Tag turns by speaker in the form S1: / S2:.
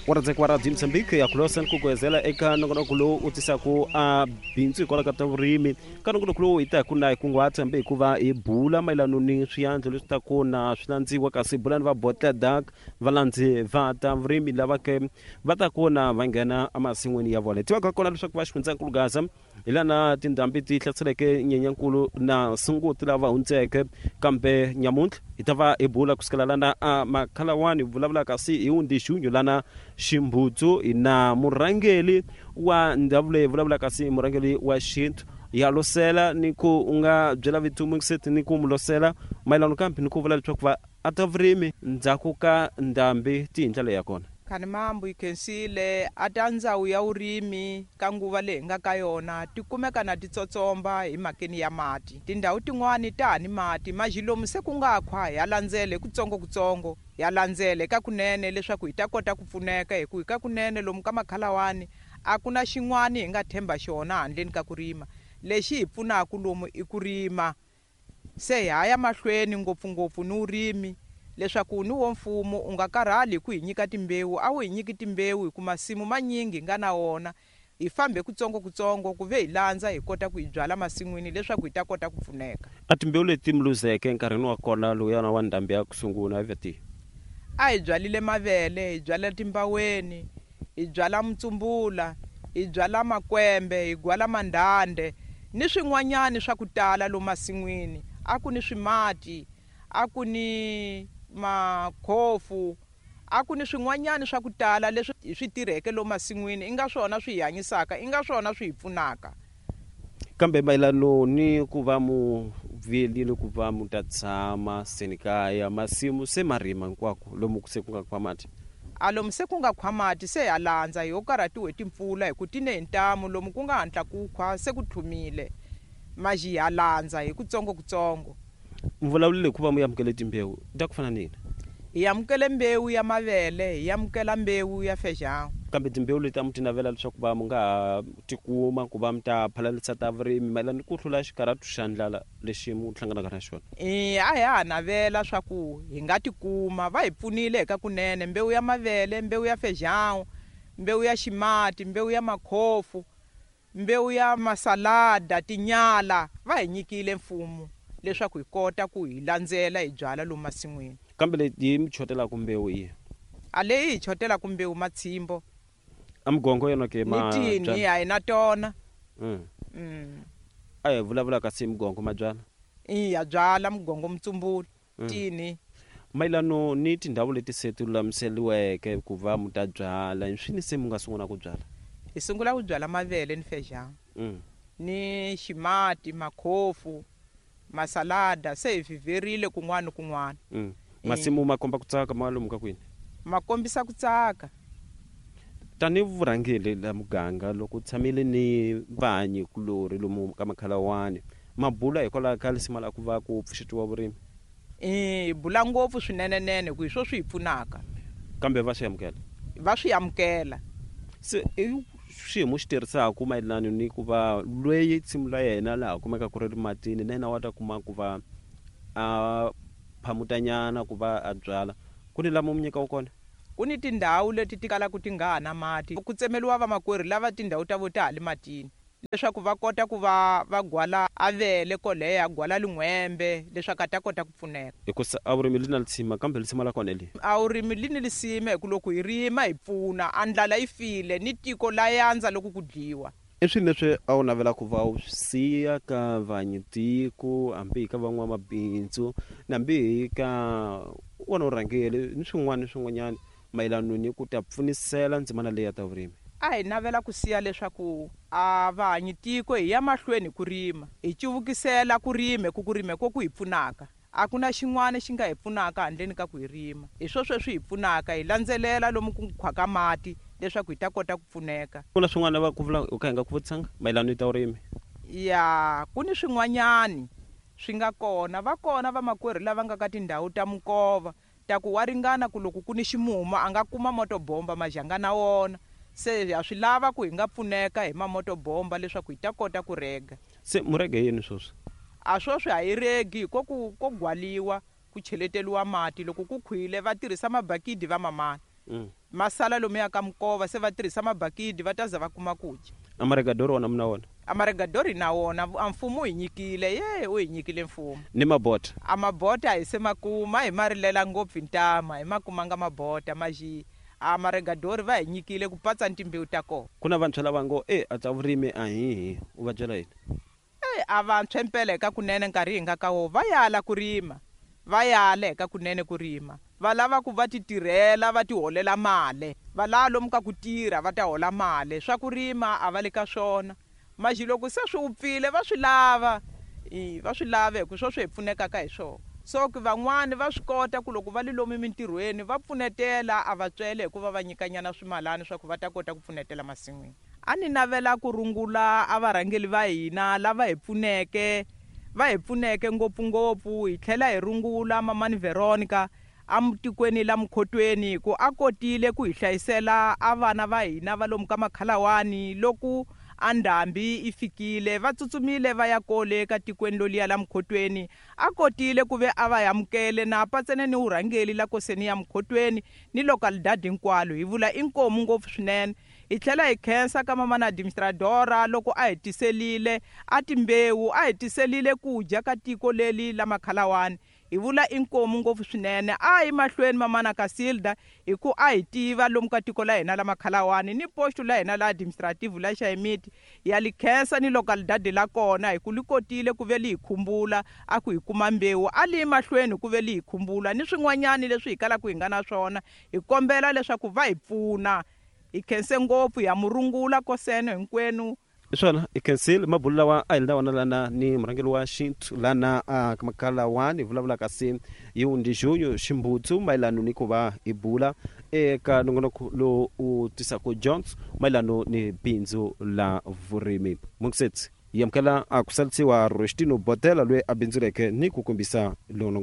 S1: Wa rhandzeka wa Radio Mozambique ya kulosa ni ku gwezela eka nongonoko lowu u tisaka a bindzu hikwalaho ka ta vurimi. Ka nongonoko lowu hi ta hi ku na hi kunguhata hambi hikuva hi bula mayelano ni swiandlo leswi ta ku na swi landziwa, kasi hi bula ni va Botledak, valandzi va ta vurimi lava ke va ta ku na va nghena emasin'wini ya vona. Hi tivaka kona leswaku va xifundzankulu Gaza hi lana tindhambi ti hlaseleke Nyenyankulu na Sunguti lava hundzeke, kambe nyamuntlha hi ta va hi bula kusukela lana a Makhalawani, hi vulavula kasi hi Wundixunyu lana Ximbutsu na murhangeli wa ndhawu leyi, vulavula kasi murhangeli wa xintu ya losela ni ku u nga byela vito ni ku mu losela mayelano kambe ni ku vula leswaku va a ta vurimi ndzhaku ka ndhambi ti hi ndlela ya kona.
S2: Khanimambu yi khensile a ta ndzawu ya vurimi ka nguva leyi hi nga ka yona ti kumeka na ti tsotsomba hi mhakeni ya mati. Tindhawu tin'wani ta ha ni mati maji lomu se ku nga khwa ya landzela hi kutsongokutsongo, ya landzela eka kunene leswaku hi ta kota ku pfuneka, hi ku hi ka kunene lomu ka Makhalawani a ku na xin'wani hi nga themba xona handleni ka ku rima. Lexi hi pfunaka lomu i ku rima. Se hi ha ya mahlweni ngopfungopfu ni vurimi leswaku ni wo mfumo u nga karhali hi ku hi nyika timbewu, a wu hi nyiki timbewu hi ku masimu manyingi hi nga na wona, hi fambe kutsongokutsongo ku ve hi landza hi kota ku hi byala masin'wini leswaku hi ta kota ku pfuneka.
S1: A timbewu leti mi luzeke enkarhini wa kona lowuyana wa ndhambi ya ku sungula a va tihi?
S2: A hi byalile mavele, hi byala timbaweni, hi byala mutsumbula, hi byala makwembe, hi gwala mandhandhe ni swin'wanyani swa ku tala lomu masin'wini. A ku ni swimati, a ku ni makhofu, a ku ni swin'wanyani swa ku tala leswi hi swi tirheke lomu masin'wini, i nga swona swi hi hanyisaka, i nga swona swi hi pfunaka.
S1: Kambe mayelano ni ku va mu vuyelile ku va mu ta tshama seni kaya, masimu se ma rima hinkwako lomu se ku nga khwa mati?
S2: A lomu se ku nga khwa mati se ha landza, hi ho karhatiwe hi timpfula hi ku ti ne hi ntamu, lomu ku nga hatla ku khwa se ku tlhumile maji, ha landza hi kutsongokutsongo.
S1: Mi vulavulile hi ku va mu amukele timbewu ta ku fana ni yini?
S2: Hi amukele mbewu ya mavele, hi amukela mbewu ya feijão.
S1: Kambe timbewu leti a mu ti navela leswaku va mu nga ha tikuma ku va mi ta phalalisa ta vurimi mayelana ni ku hlula xikarhatu xa ndlala lexi mu hlanganaka na xona?
S2: E, a hi ha navela swa ku hi nga tikuma. Va hi pfunile hi ka kunene, mbewu ya mavele, mbewu ya feijão, mbewu ya ximati, mbewu ya makhofu, mbewu ya masalada, tinyala, va hi nyikile mfumo leswaku hi kota ku hi landzela hi byala lomu masin'wini.
S1: Kambe leyi yi mi chotelaka mbewu i?
S2: A leyi hi chotelaka mbewu matshimbo.
S1: A migongo yona ke
S2: ma ni tini a hi na tona.
S1: A hi vulavula kasi migongo ma byala?
S2: Iya, byala mugongo, mutsumbula, tini.
S1: Mayelano ni tindhawu leti se ti lulamiseriweke ku va mu ta byala, hi swini se mu nga sungula ku byala?
S2: Hi sungula ku byala mavele ni feijão ni ximati, makhofu, masalada, se hi vhivherile kun'wana ni kun'wana.
S1: Masimu ma komba ku tsaka ma lomu ka kwini?
S2: Ma kombisa ku tsaka.
S1: Tanihi vurhangeri la muganga, loko u tshamile ni vahanyi kulorhi lomu ka Makhalawani, ma bula hikwalaho ka lisima la ku va ku pfuxetiwa vurimi?
S2: Hi bula ngopfu swinenenene ku hi swo swi hi pfunaka.
S1: Kambe va swi amukela?
S2: Va swi amukela.
S1: Se i xiyimo xi tirhisaka mayelana ni ku va loyi nsimu la yena laha kumeka ku ri ri matini na yena wa ta kuma ku va a phamutanyana ku va a byala, ku ni lama mu nyikaka kona?
S2: Ku ni tindhawu leti ti kalaka ti nga ha na mati, ku tsemeriwa vamakwerhu lava tindhawu ta vo ta ha le matini leswaku va kota ku va va gwala avele koleya, gwala lin'hwembe leswaku a ta kota ku pfuneka.
S1: Hikusa a vurimi li na lisima, kambe lisima la kona li.
S2: A vurimi li ni lisima hi ku loko hi rima hi pfuna, a ndlala yi file ni tiko la yandza loko ku dliwa.
S1: I swini leswi a wu navela ku va u swi siya ka vanyitiko, hambi hi ka van'wamabindzu, na hambi hi ka wona vurhangeri ni swin'wana ni swin'wanyana mayelano ni ku ta pfunisela ndzimana leyi ya ta vurimi?
S2: A hi navela ku siya leswaku a vahanyitiko hi ya mahlweni hi ku rima, hi cuvukisela ku rima hi ku ku rima hi ko ku hi pfunaka. A ku na xin'wana xi nga hi pfunaka handleni ka ku hi rima. Hi swo sweswi hi pfunaka, hi landzelela lomu ku khwaka mati leswaku hi ta kota ku pfuneka.
S1: Ku na swin'wana va ku vula u kha hi nga ku vutisanga mayelano ni ta vurimi?
S2: Ya, ku ni swin'wanyani swi nga kona. Va kona vamakwerhu lava nga ka tindhawu ta minkova ta ku wa ringana ku loko ku ni ximumu a nga kuma motobomba majanga na wona. Se ha swi lava ku hi nga pfuneka hi mamotobomba leswaku hi ta kota ku rega.
S1: Se mu rege yini sweswi?
S2: A sweswi ha yi regi hi ko ku ko gwaliwa ku cheleteliwa mati, loko ku khwile va tirhisa mabakidi va mamana. Ma sala lomuya ka minkova, se va tirhisa mabakidi va ta za va kuma ku dya.
S1: Amaregadori wona mi na wona?
S2: Amaregadori na wona, a mfumo wu hi nyikile, ye wu hi nyikile mfumo.
S1: Ni mabota?
S2: A mabota hi se ma kuma, hi ma rilela ngopfu hi ntama, hi ma kumanga mabota maxi a maregadori va hi nyikile ku patsa ni timbewu ta kona.
S1: Ku na vantshwa lava ngo e a ta vurimi a hihi, u va byela yini?
S2: E a vantshwa impela eka kunene nkarhi hi nga ka wo va yala ku rima, va yala eka kunene ku rima, va lava ku va ti tirhela va ti holela mali, va lava lomu ka ku tirha va ta hola mali, swa ku rima a va le ka swona. Maxi loko se swi wupfile va swi lava, i va swi lava hi ku swo swi hi pfunekaka hi swona. So ku van'wani va swi kota ku loko va li lomu mintirhweni va pfunetela, a va tswele hikuva va nyikanyana swimalani swa ku va ta kota ku pfunetela masin'wini. A ni navela ku rungula a varhangeli va hina lava hi pfuneke, va hi pfuneke ngopfungopfu, hi tlhela hi rungula mamani Veronica amutikweni la Mukhotweni ku a kotile ku hi hlayisela a vana va hina va lomu ka Makhalawani loko a ndhambi i fikile, va tsutsumile va ya kole ka tikweni loliya la Mukhotweni. A kotile ku ve a va amukele na patsene ni vurhangeli la koseni ya Mukhotweni ni localidade hinkwalo, hi vula inkomu ngopfu swinene. Hi tlhela hi khensa ka mamana administradora loko a hi tiselile a timbewu, a hi tiselile ku dya ka tiko leli la Makhalawani, hi vula inkomu ngopfu swinene. A hi mahlweni mamana Casilda hi ku a hi tiva lomu ka tiko la hina la Makhalawani ni posto la hina la administrative la Xayimiti, ya li khensa ni localidade la kona hi ku li kotile ku ve li hi khumbula a ku hi kuma mbewu, a li mahlweni ku ve li hi khumbula ni swin'wanyani leswi hi kalaka hi nga na swona, hi kombela leswaku va hi pfuna. Hi khense ngopfu, ya murungula koseno hinkwenu.
S1: Hi swona, hi khensile mabulu lawa a hi la wona lana ni murhangeri wa xintu lana a Makhalawani, hi vulavulaka se hi Wundijunyu Ximbutsu mayelano ni ku va hi bula eka nongonoko lowu u tisaka dyondzo mayelano ni bindzu la vurimi. Mungisetsi hi amukela a ku salisiwa Rostino Botela loyi a bindzuleke ni ku kombisa lowu nongonoko.